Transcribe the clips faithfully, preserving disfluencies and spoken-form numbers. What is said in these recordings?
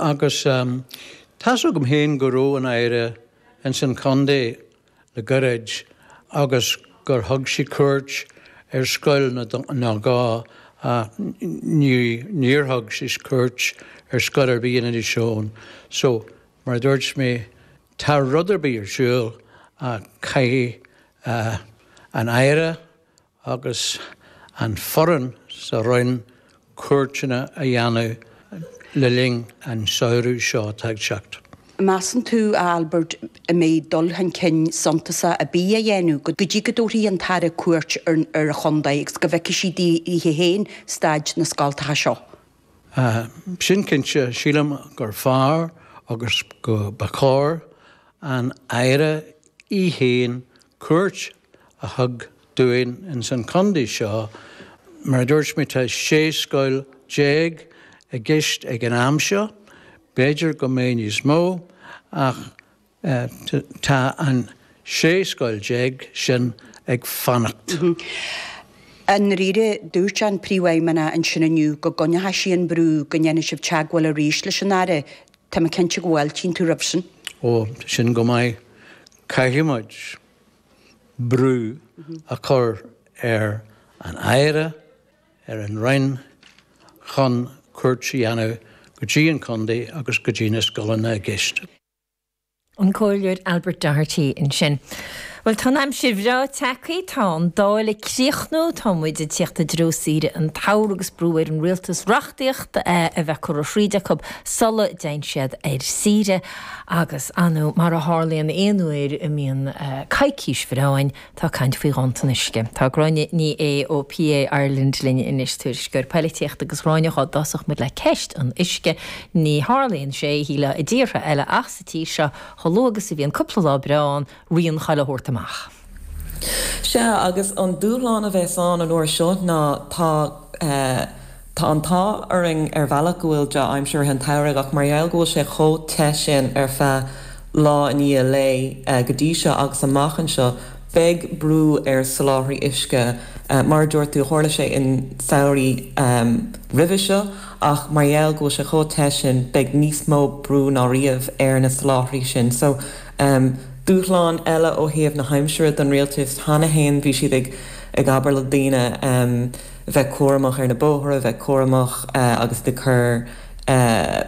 Agus tá's agam féin go raibh an Aire ins an chontae le gairid agus gur thug sí cuairt ar scoil nó dhó ach ní níor thug sí cuairt ar scoil ar bith in Inis Eoghain. So mar a dúirt mé tá rud ar bith ar siúl ach caithfidh an Aire agus an foireann sa Roinn cuairteanna a dhéanamh le linn an samhradh seo atá ag teacht. Measann tú, a Albert, an mbeidh dul chun cinn suntasach ar bith á dhéanamh go dtí go dtabharfaidh an tAire cuairt ar an chontae agus go bhfeicfidh sí di féin staid na scoltacha seo? Sin cinnte, sílim gur fearr agus go ba chóir an Aire í féin cuairt a thug dúinn ins an chontae seo. Mar a dúirt mé tá sé scoil déag i gceist ag an am seo, b'fhéidir go mbeidh níos mó ach tá an sé scoil déag sin ag fanacht. I ndáiríre, dúirt an Príomhfheidhmeannach ansin inniu go gcoinneoidh sí an brú go ndéanfaidh sibh teagmháil arís leis an Aire. Tá mé cinnte go bhfáiltíonn tú roimh sin. Ó, sin go maith. Caithfidh muid brú a chur ar an Aire, ar an Roinn chun cuairt a dhéanamh go dtí an contae agus go dtí na scoileanna i gceist. An Comhairleoir Albert Doherty ansin. Bhuel tá an aimsir bhreá tagtha, tá an Dáil ag críochnú, tá muid ag tíocht i dtreo saoire an tsamhraidh agus brú ar an rialtas reachtaíocht a bheith curtha thríd acu sula dtéann siad ar saoire agus anu mar a tharlaíonn aon uair a mbíonn coicís bhreá ann, tá caint faoi ghanntan uisce. Tá Gráinne Ní Aodha ó PA Ireland linn anois tuairisceoir polaitíochta agus Gráinne dhá dtosódh muid le ceist an uisce. Ní tharlaíonn sé shílfeá i dtíortha eile ach sa tír seo chomh luath agus a bhíonn cúpla lá breá ann rian chuile shórt amach. Sea, agus an dúshlán a bheas ann an uair seo ná tá tá an t-ádh orainn ar bhealach go bhfuil dea-aimsir i rith an tsamhraidh ach mar gheall go bhfuil sé chomh te sin ar feadh lá i ndiaidh lae go dtí seo agus amach anseo, beidh brú ar soláthraí uisce. Mar a dúirt tú, tharla sé in samhraí roimhe seo ach mar gheall go bhfuil sé chomh te sin, beidh níos mó brú ná riamh ar na soláthraí sin. So, dúshlán eile ó thaobh na haimsire don rialtas cheana féin, bhí siad ag ag abair le daoine bheith cúramach ar na bóithre, bheith cúramach agus ag cur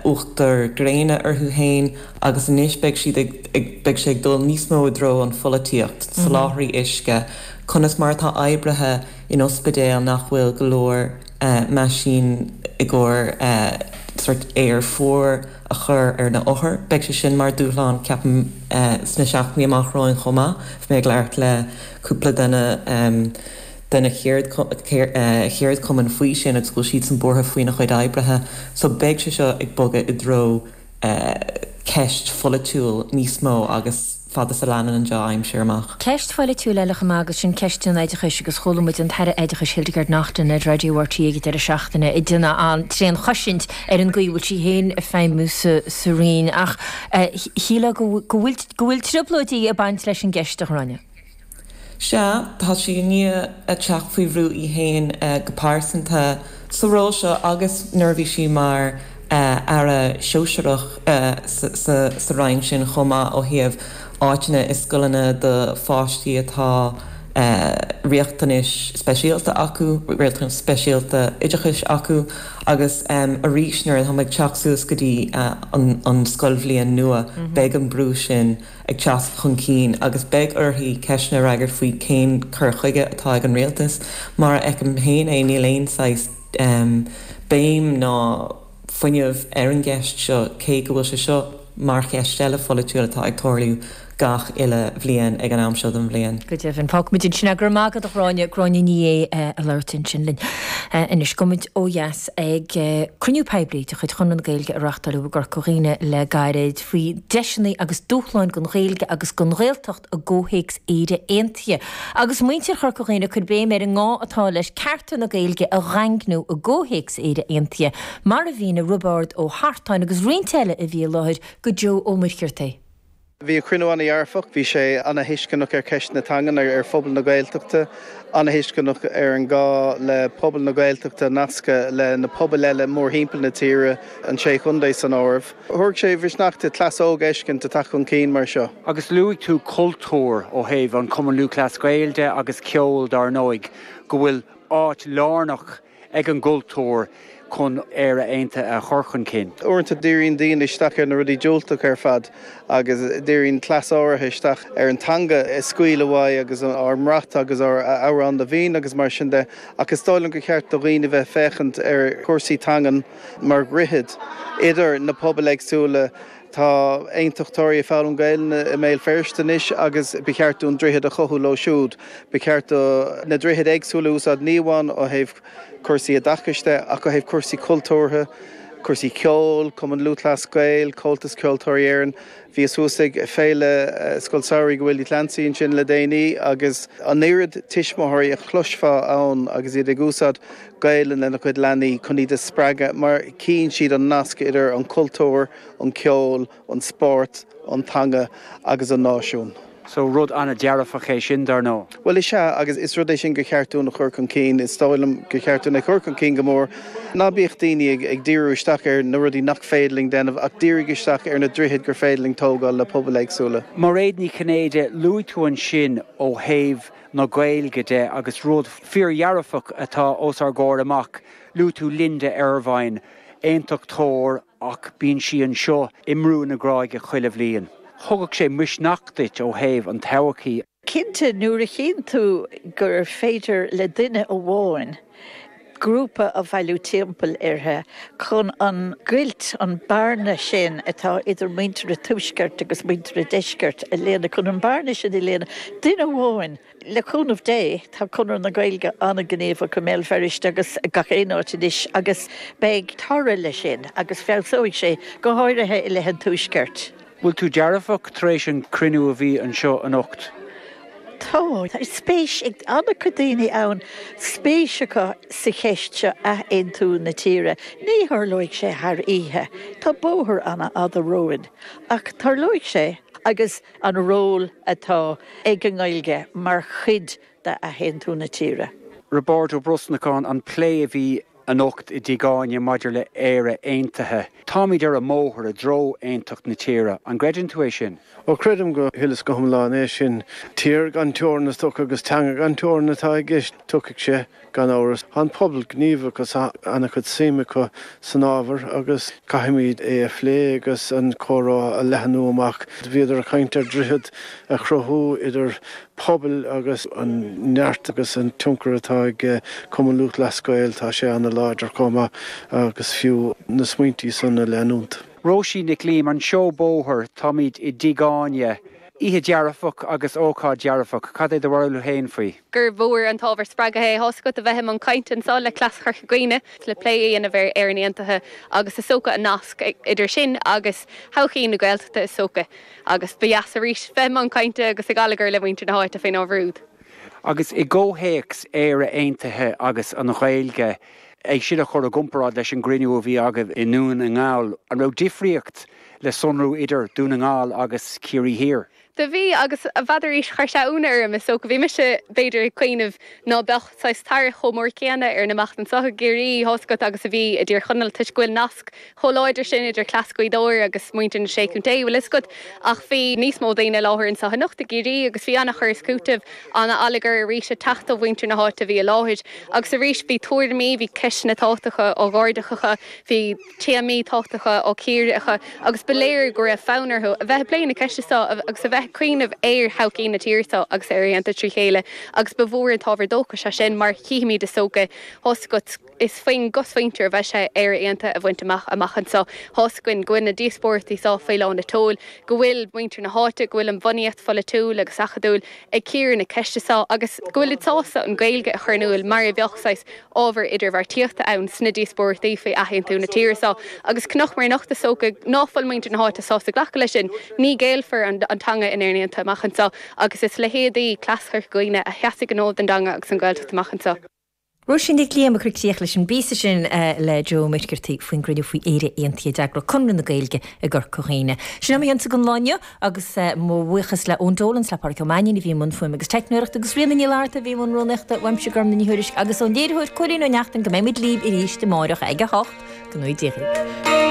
uachtar gréine orthu féin agus anois beidh siad ag ag beidh sé ag dul níos mó i dtreo an pholaitíocht, soláthraí uisce, conas mar atá oibrithe in ospidéal nach bhfuil go leor meaisín i gcomhair sort aer fuar a chur ar na othair. Beidh sé sin mar dúshlán ceapaim sna seachtainí amach romhainn chomh maith. Bhí mé ag labhairt le cúpla duine de na cheardchumainn faoi sin agus go bhfuil siadsan buartha faoina chuid oibrithe. So beidh sé seo ag bogadh i dtreo ceist pholaitiúil níos mó agus fad is a leanann an dea-aimsir amach. Ceist pholaitiúil eile chomh maith agus sin ceist an oideachais agus chuala muid an tAire Oideachais Hildegarde Naughton ar Raidió RTÉ ag an deireadh seachtaine ag déanamh an-tréanchosaint ar an gcaoi a bhfuil sí féin ag feidhmiú sa sa Roinn ach shílfeá go bhfuil go bhfuil trioblóidí ag baint leis an gceist a Ghráinne. Sea, tá sí i ndiaidh a teacht faoi bhrú í féin go pearsanta sa ról seo agus nuair a bhí sí mar Aire Sóisearach sa Roinn sin chomh maith ó thaobh áiteanna i scoileanna do pháistí atá riachtanais speisialta acu, riachtanais speisialta oideachais acu agus arís nuair atá muid ag teacht suas go dtí an scoilbhliain nua beidh an brú sin ag teacht chun cinn agus beidh uirthi ceisteanna a fhreagairt faoi cén cur chuige atá ag an rialtas. Mar a fheicim féin é, níl aon saghas béim ná fuinneamh ar an gceist seo, cé go bhfuil sé seo mar cheist eile pholaitiúil atá ag tarlú gach uile bhliain ag an am seo den bhliain. Go deimhin. Fágfaimid ansin é. Go raibh maith agat, a Ghráinne. Gráinne Ní Aodha ag labhairt ansin linn. Anois, gabhfaimid ó dheas ag cruinniú poiblí de chuid Chonradh na Gaeilge a reáchtáileadh i gCorca Dhuibhne le gairid faoi deiseanna agus dúshláin don Ghaeilge agus don Ghaeltacht i gcomhthéacs Éire Aontaithe. Agus muintir Chorca Dhuibhne ag cur béim ar an ngá atá leis cearta na Gaeilge a dhaingniú i gcomhthéacs Éire Aontaithe, mar a mhínigh Roibeárd Ó hArtáin agus roinnt eile a bhí i láthair go Joe Ó Muircheartaigh. Bhí an cruinniú an-dearfach, bhí sé an-tuisceanach ar cheist na teangan ar phobal na Gaeltachta, an-tuisceanach ar an gá le pobal na Gaeltachta nascadh le na pobail eile mórthimpeall na tíre an sé chontae san áireamh. Thabharfadh sé misneach duit cleas óg a fheiscint ag teacht chun cinn mar seo. Agus luaigh tú cultúr ó thaobh an Cumann Lúthchleas Gael de agus ceol dar ndóigh, go bhfuil áit lárnach ag an gcultúr chun Éire Aontaithe a chur chun cinn. Uaireanta díríonn daoine isteach ar na rudaí diúltach ar fad agus díríonn cleas áirithe isteach ar an teanga a scaoileadh uaidh agus ár mbrat agus ár Amhrán na bhFiann agus mar sin de ach is dóigh liom gur cheart do dhaoine bheith ag féachaint ar chúrsaí teangan mar dhroichead idir na pobail éagsúla. Tá aontachtóirí ag foghlaim Gaelainne i mBéal Feirste anois agus ba cheart dúinn droichead a chothú leo siúd. Ba cheart do na droichid éagsúla a úsáid ní amháin ó thaobh cúrsaí oideachais de ach ó thaobh cúrsaí cultúrtha, cúrsaí ceoil, Cumann Lúthchleas Gael, Comhaltas Ceoltóirí Éireann. Bhíos thuas ag Féile Scoil Samhraidh Willie Clancy ansin le déanaí agus an oiread tuismitheoirí a chloisfeá ann agus iad ag úsáid Gaelainn lena gcuid leanaí chun iad a spreagadh mar chíonn siad an nasc idir an cultúr, an ceol, an spórt, an teanga agus an náisiún. So rud an-dearfach é sin dar ndóigh. Bhuel is ea, agus is rud é sin gur cheart dúinn a chur chun cinn. Is dóigh liom gur cheart dúinn é a chur chun cinn go mór. Ná bíodh daoine ag ag díriú isteach ar na rudaí nach féidir linn déanamh ach dírigh isteach ar na droichid gur féidir linn tógáil le pobail éagsúla. Mairéad Ní Chinnéide, luaigh tú ansin ó thaobh na Gaeilge de agus rud fíordhearfach atá os ár gcomhair amach, luaigh tú Linda Ervine, aontachtóir ach bíonn sí anseo i mBrú na Gráige chuile bhliain. Thugadh sé misneach duit ó thaobh an todhchaí. Cinnte, nuair a chíonn tú gur féidir le duine amháin grúpa a bhailiú timpeall uirthi chun an ghoilt, an bearna sin atá idir muintir an Tuaiscirt agus muintir an Deiscirt a líonadh, chun an bearna sin a líonadh, duine amháin, le cúnamh Dé, tá Conradh na Gaeilge an-ghníomhach i mBéal Feirste agus gach aon áit anois agus beidh toradh leis sin agus feabhsóidh sé, go háirithe i leith an Tuaiscirt. Bhfuil tú dearfach tar éis an cruinniú a bhí anseo anocht? Tá. Tá spéis ag an-chuid daoine ann, spéis acu sa cheist seo, athaontú na tíre. Ní tharlóidh sé thar oíche. Tá bóthar an-fhada romhainn. Ach tarlóidh sé agus an ról atá ag an nGaeilge mar chuid d'athaontú na tíre. Roibeárd Ó Brosnacháin, an plé a bhí anocht i dTigh Áine maidir le Éire Aontaithe. Táimid ar an mbóthar i dtreo aontacht na tíre. An gcreideann tú é sin? Ó creidim go huile is go hiomlán é sin. Tír gan teorainn is dócha agus teanga gan teorainn atá i gceist. Tiocfaidh sé, gan amhras. Tá an pobal gníomhach agus an-chuid suim acu san ábhar agus caithfimid é a phlé agus an comhrá a leathnú amach. Bhíodar ag caint ar dhroichead a chruthú idir pobail agus an neart agus an tionchar atá ag Cumann Lúthchleas Gael, tá sé ana-láidir chomh maith agus fiú na smaointí san a leanúint. Róisín Nic Liam, An Seó Bóthair, Táimid i dTigh Áine. Oíche dearfach agus ócáid dearfach, cad é do bharúil féin faoi? gur mhór an t-ábhar spreagtha é tá's agat a bheith i mbun cainte anseo le Cleas Chorca Dhuibhne le plé a dhéanamh ar Éirinn Aontaithe agus is dócha an nasc idir sin agus todhchaí na Gaeltachta is dócha. Agus ba dheas arís bheith i mbun cainte agus ag allagar le muintir na háite faoin ábhar úd. Agus i gcomhthéacs Éire Aontaithe agus an Ghaeilge, é sin a chur i gcomparáid leis an gcruinniú a bhí agaibh i nDún na nGall, an raibh difríocht le sonrú idir Dún na nGall agus Ciarraí Thiar? Do bhí, agus n'fheadar arís, chuir sé ionadh orm, is dócha. Bhí mise, b'fhéidir, ag cuimhneamh ná beadh saghas tarrac chomh mór céanna ar an imeacht anseo i gCiarraí, tá's agat, agus a bhí i dTír Chonaill, toisc go bhfuil nasc chomh láidir sin idir Cleas Ghaoth Dobhair agus muintir na Sé Chontae, bhfuil fhios agat. Ach bhí níos mó daoine i láthair anseo anocht i gCiarraí agus bhí an-chur is cúiteamh, an-allagar arís ag teacht ó mhuintir na háite a bhí i láthair. Agus arís bhí tuairimí, bhí ceisteanna tábhachtacha á n-ardú acu, bhí téamaí tábhachtacha á gcíoradh acu agus ba léir go raibh fonn orthu a bheith ag plé na ceiste seo agus a bheith ag cuimhneamh ar thodhchaí na tíre seo agus Éire Aontaithe trí chéile agus ba mhór an t-ábhar dóchais é sin mar chífimid is dócha tá's agat is faoin gcosmhuintir a bheidh sé Éire Aontaithe a bhaint amach amach anseo. Tá's againn go bhfuil na díospóireachtaí seo faoi lán a tseoil, go bhfuil muintir na háite, go bhfuil an bhunaíocht pholaitiúil agus acadúil ag cíoradh na ceiste seo agus go bhfuilid sásta an Ghaeilge a chur in iúl mar a bheadh saghas ábhar idirbheartaíochta ann sna díospóireachtaí faoi athaontú na tíre seo agus chonaiceamar anocht is dócha ná fuil muintir na háite sásta glacadh leis sin. Ní ghéillfear an teanga in Éirinn Aontaithe amach anseo agus is leithéidí Cleas Chorca Dhuibhne a sheasfaidh an fód don dteanga agus an Ghaeltacht amach anseo. Róisín Nic Liam ag cur críoch leis an bpíosa sin le Joe Ó Muircheartaigh faoin gcruinniú faoi Éire Aontaithe a d'eagraigh Conradh na Gaeilge i gCorca Dhuibhne. Sin é mo chionsa don lá inniu agus mo bhuíochas le Eoin Dolan, le Pádraic Ó Mainnín a bhí i mbun fuaime agus teicneoireachta agus Ríona Ní Fhlatharta a bhí i mbun rúnaíochta, uaimse Gormlaith Ní Thuairisg agus ón léiritheoir Cóilín Ó Neachtain go mbeidh muid libh arís amáireach ag a hocht. Go ngnóthaí Dia dhaoibh.